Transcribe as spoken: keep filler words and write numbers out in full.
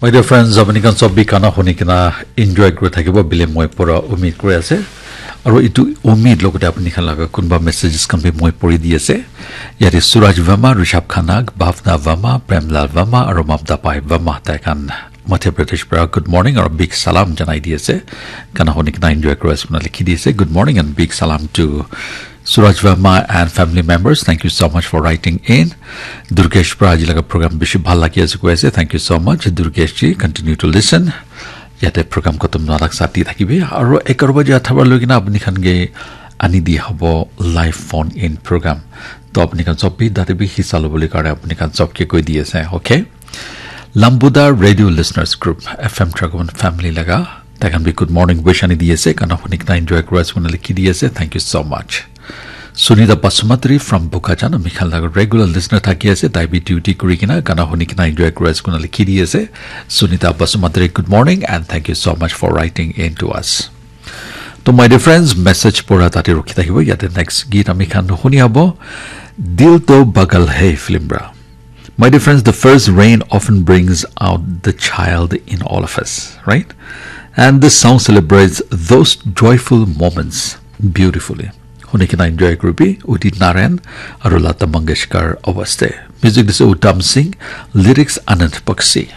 My dear friends, apni khan sob bi gana huni kena enjoy kuri thakibo bile moi pura umid kuri ase. Aro itu umid logote apni khan laga kunba messages khan bi moi puri di ase. Yate Suraj Verma, Rishabh Khanna, Bhavna Verma, Premlal Verma, aro Mamta Pai Verma tai khan Madhya Pradesh pra good morning aro big salam janai di ase. Gana huni kena enjoy kuri ase koina likhi di ase. Good morning and big salam to Suraj Verma and family members, thank you so much for writing in. Durgesh pra aji laga program bishi bhal lagi ase koi ase. Thank you so much, Durgesh ji. Continue to listen. Yate program khatam nohoa tak sati thakibi. Aro eghar baje athawar loi kena apni khan ke ani di hobo live phone in program. To apni khan sob bi tate bi hissa lobole karne apni khan sob ke koi di ase, okay? Lambuda Radio Listeners Group, F M Dragon family laga. Tai khan bi good morning wish ani di ase. Gana huni kena enjoy kuri ase koina likhi di ase. Thank you so much. Sunita Basumatri from Bokajan, ami khan laga regular listener thaki ase. Tai bi duty kuri kena gana huni kena enjoy kuri ase koina likhi di ase. Sunita Basumatri, good morning and thank you so much for writing in to us. To my dear friends, message pura tate rukhi thakibo. Yate next git ami khan huni abo Dil To Pagal Hai film pra. My dear friends, the first rain often brings out the child in all of us, right? And this song celebrates those joyful moments beautifully. Huni kena enjoy kuribi, Udit Narayan, aro Lata Mangeshkar awaste. Music is Uttam Singh, lyrics Anand Bakshi.